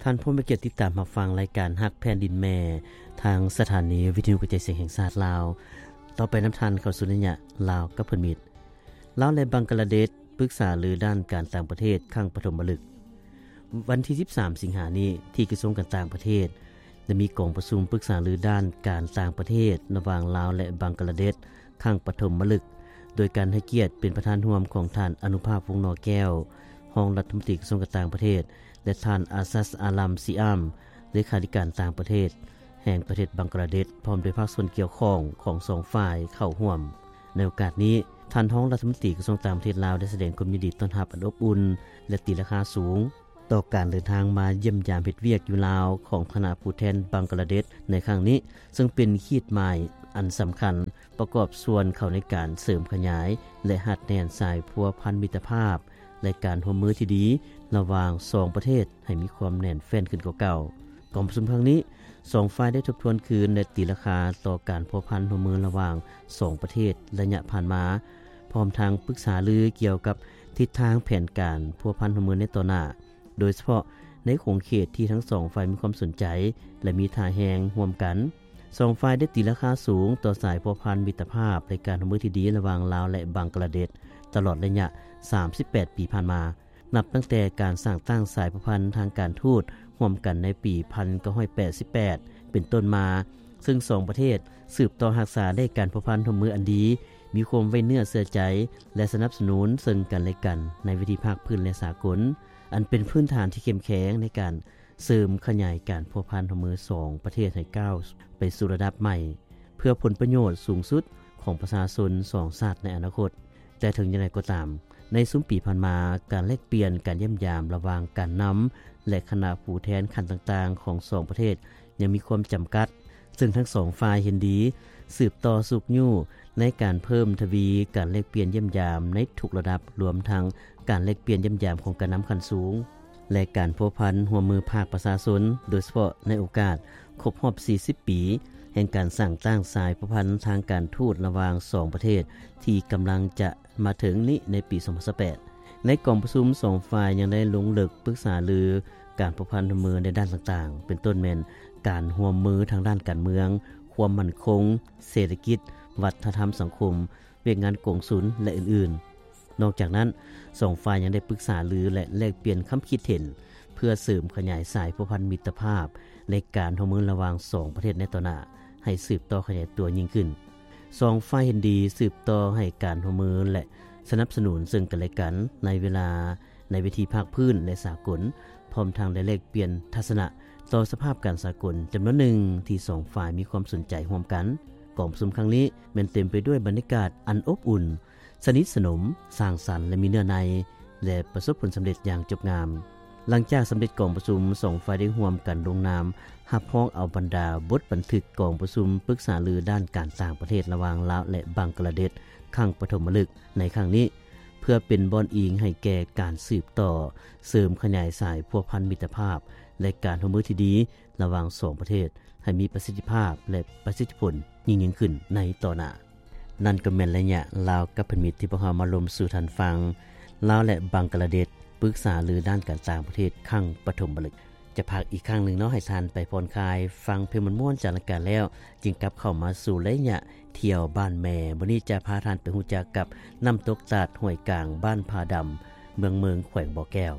ທ່ານຜູ້ມີກຽດຕິດຕາມຮັບຟັງລາຍການຮັກແຜ່ນດິນແມ່ ທາງສະຖານີວິທະຍຸກະຈາຍສຽງແຫ່ງຊາດລາວ. ຕໍ່ໄປນຳທ່ານເຂົ້າສູ່ໄລຍະລາວກັບເພື່ອນມິດ. ລາວ ແລະ ບັງກະລາເດດ ປຶກສາລືດ້ານການຕ່າງປະເທດຄັ້ງປະຖົມມະລຶກ. ວັນທີສິບສາມ ສິງຫານີ້ ທີ່ກະຊວງການຕ່າງປະເທດ ໄດ້ມີກອງປະຊຸມປຶກສາລືດ້ານການຕ່າງປະເທດ ລະຫວ່າງລາວ ແລະ ບັງກະລາເດດ ຄັ້ງປະຖົມມະລຶກ ໂດຍການໃຫ້ກຽດເປັນປະທານຮ່ວມຂອງທ່ານ ອະນຸພາບ ວົງໜໍແກ້ວ ຮອງລັດຖະມົນຕີກະຊວງການຕ່າງປະເທດ ແລະ ທ່ານ ອາຊັດ ອາຣາມ ຊີອາມ ເລຂາທິການຕ່າງປະເທດແຫ່ງປະເທດບັງກະລາເດດ ພ້ອມດ້ວຍພາກສ່ວນກ່ຽວຂ້ອງຂອງສອງຝ່າຍເຂົ້າຮ່ວມ. ໃນໂອກາດນີ້, ທ່ານຮອງລັດຖະມົນຕີກະຊວງຕ່າງປະເທດລາວ ໄດ້ສະແດງຄວາມຍິນດີຕ້ອນຮັບອັນອົບອຸ່ນ ແລະ ຕີລາຄາສູງ ຕໍ່ການເດີນທາງມາຢ້ຽມຢາມເຮັດວຽກຢູ່ລາວຂອງຄະນະຜູ້ແທນບັງກະລາເດດໃນຄັ້ງນີ້, ເຊິ່ງເປັນຂີດໝາຍອັນສຳຄັນ ປະກອບສ່ວນເຂົ້າໃນການເສີມຂະຫຍາຍ ແລະ ຮັດແໜ້ນສາຍພົວພັນມິດຕະພາບ ແລະ ການຮ່ວມມືທີ່ດີລະຫວ່າງສອງປະເທດໃຫ້ມີຄວາມແໜ້ນແຟ້ນຂຶ້ນກວ່າເກົ່າ. ກອງປະຊຸມຄັ້ງນີ້, ສອງຝ່າຍໄດ້ທົບທວນຄືນ ແລະ ຕີລາຄາຕໍ່ການພົວພັນຮ່ວມມືລະຫວ່າງສອງປະເທດໄລຍະຜ່ານມາ, ພ້ອມທັງປຶກສາລືກ່ຽວກັບທິດທາງແຜນການພົວພັນຮ່ວມມືໃນຕໍ່ໜ້າ, ໂດຍສະເພາະໃນຂົງເຂດທີ່ທັງສອງຝ່າຍມີຄວາມສົນໃຈ ແລະ ມີທ່າແຮງຮ່ວມກັນ. ສອງຝ່າຍໄດ້ຕີລາຄາສູງຕໍ່ສາຍພົວພັນມິດຕະພາບ ແລະ ການຮ່ວມມືທີ່ດີລະຫວ່າງລາວ ແລະ ບັງກະລາເດດ ຕະຫຼອດໄລຍະສາມສິບແປດປີຜ່ານມາ, ນັບຕັ້ງແຕ່ການສ້າງຕັ້ງສາຍພົວພັນທາງການທູດຮ່ວມກັນໃນປີພັນເກົ້າຮ້ອຍແປດສິບແປດເປັນຕົ້ນມາ, ເຊິ່ງສອງປະເທດສືບຕໍ່ຮັກສາໄດ້ການພົວພັນຮ່ວມມືອັນດີ, ມີຄວາມໄວ້ເນື້ອເຊື່ອໃຈ ແລະ ສະໜັບສະໜູນເຊິ່ງກັນແລະກັນໃນເວທີພາກພື້ນ ແລະ ສາກົນ, ອັນເປັນພື້ນຖານທີ່ເຂັ້ມແຂງໃນການ ເສີມຂະຫຍາຍການພົວພັນຮ່ວມມືສອງປະເທດໃຫ້ກ້າວໄປສູ່ລະດັບໃໝ່ ເພື່ອຜົນປະໂຫຍດສູງສຸດຂອງປະຊາຊົນສອງຊາດໃນອະນາຄົດ. ແຕ່ເຖິງຢ່າງໃດກໍຕາມ, ໃນຊຸມປີຜ່ານມາ, ການແລກປ່ຽນການຢ້ຽມຢາມລະຫວ່າງການນຳ ແລະ ຄະນະຜູ້ແທນຂັ້ນຕ່າງໆຂອງສອງປະເທດຍັງມີຄວາມຈຳກັດ, ເຊິ່ງທັງສອງຝ່າຍເຫັນດີສືບຕໍ່ຊຸກຍູ້ໃນການເພີ່ມທະວີການແລກປ່ຽນຢ້ຽມຢາມໃນທຸກລະດັບ, ລວມທັງການແລກປ່ຽນຢ້ຽມຢາມຂອງການນຳຂັ້ນສູງ ແລະ ການພົວພັນຮ່ວມມືພາກປະຊາຊົນ, ໂດຍສະເພາະໃນໂອກາດຄົບຮອບສີ່ສິບປີ ແຫ່ງການສ້າງຕັ້ງສາຍພົວພັນທາງການທູດລະຫວ່າງສອງປະເທດ ທີ່ກຳລັງຈະມາເຖິງນີ້ໃນປີສອງພັນຊາວແປດ. ໃນກອງປະຊຸມ, ສອງຝ່າຍຍັງໄດ້ລົງເລິກປຶກສາລືການພົວພັນຮ່ວມມືໃນດ້ານຕ່າງໆ ເປັນຕົ້ນແມ່ນການຮ່ວມມືທາງດ້ານການເມືອງ, ຄວາມໝັ້ນຄົງ, ເສດຖະກິດ, ວັດທະນະທຳສັງຄົມ, ວຽກງານກົງສຸນ ແລະ ອື່ນໆ. ນອກຈາກນັ້ນ, ສອງຝ່າຍຍັງໄດ້ປຶກສາລື ແລະ ແລກປ່ຽນຄຳຄິດເຫັນ ເພື່ອເສີມຂະຫຍາຍສາຍພົວພັນມິດຕະພາບ ແລະ ການຮ່ວມມືລະຫວ່າງສອງປະເທດໃນຕໍ່ໜ້າ ໃຫ້ສືບຕໍ່ຂະຫຍາຍຕົວຍິ່ງຂຶ້ນ. ສອງຝ່າຍເຫັນດີສືບຕໍ່ໃຫ້ການຮ່ວມມື ແລະ ສະໜັບສະໜູນເຊິ່ງກັນແລະກັນໃນເວລາ ໃນເວທີພາກພື້ນ ແລະ ສາກົນ, ພ້ອມທັງໄດ້ແລກປ່ຽນທັດສະນະຕໍ່ສະພາບການສາກົນຈຳນວນໜຶ່ງທີ່ສອງຝ່າຍມີຄວາມສົນໃຈຮ່ວມກັນ. ກອງປະຊຸມຄັ້ງນີ້ແມ່ນເຕັມໄປດ້ວຍບັນຍາກາດອັນອົບອຸ່ນ, ສະໜິດສະໜົມ, ສ້າງສັນ ແລະ ມີເນື້ອໃນ ແລະ ປະສົບຜົນສຳເລັດຢ່າງຈົບງາມ. ຫຼັງຈາກສຳເລັດກອງປະຊຸມ, ສອງຝ່າຍໄດ້ຮ່ວມກັນລົງນາມຮັບຮອງເອົາບັນດາບົດບັນທຶກກອງປະຊຸມປຶກສາລືດ້ານການຕ່າງປະເທດລະຫວ່າງລາວ ແລະ ບັງກະລາເດດ ຄັ້ງປະຖົມມະລຶກໃນຄັ້ງນີ້ ເພື່ອເປັນບ່ອນອີງໃຫ້ແກ່ການສືບຕໍ່ເສີມຂະຫຍາຍສາຍພົວພັນມິດຕະພາບ ແລະ ການຮ່ວມມືທີ່ດີລະຫວ່າງສອງປະເທດ ໃຫ້ມີປະສິດທິພາບ ແລະ ປະສິດທິຜົນຍິ່ງໆຂຶ້ນໃນຕໍ່ໜ້າ. ນັ້ນກໍແມ່ນໄລຍະລາວກັບເພື່ອນມິດ ທີ່ພວກເຮົາມາລົມສູ່ທ່ານຟັງ. ລາວ ແລະ ບັງກະລາເດດ ປຶກສາລືດ້ານການຕ່າງປະເທດຄັ້ງປະຖົມມະລຶກ. ຈະພັກອີກຄັ້ງໜຶ່ງເນາະ ໃຫ້ທ່ານໄປຜ່ອນຄາຍ ຟັງເພງມ່ວນໆຈາກລາຍການແລ້ວ, ຈຶ່ງກັບເຂົ້າມາສູ່ໄລຍະທ່ຽວບ້ານແມ່. ມື້ນີ້ຈະພາທ່ານໄປຮູ້ຈັກກັບນ້ຳຕົກຕາດຫ້ວຍກາງ ບ້ານຜາດຳ ເມືອງເມີງ ແຂວງບໍ່ແກ້ວ.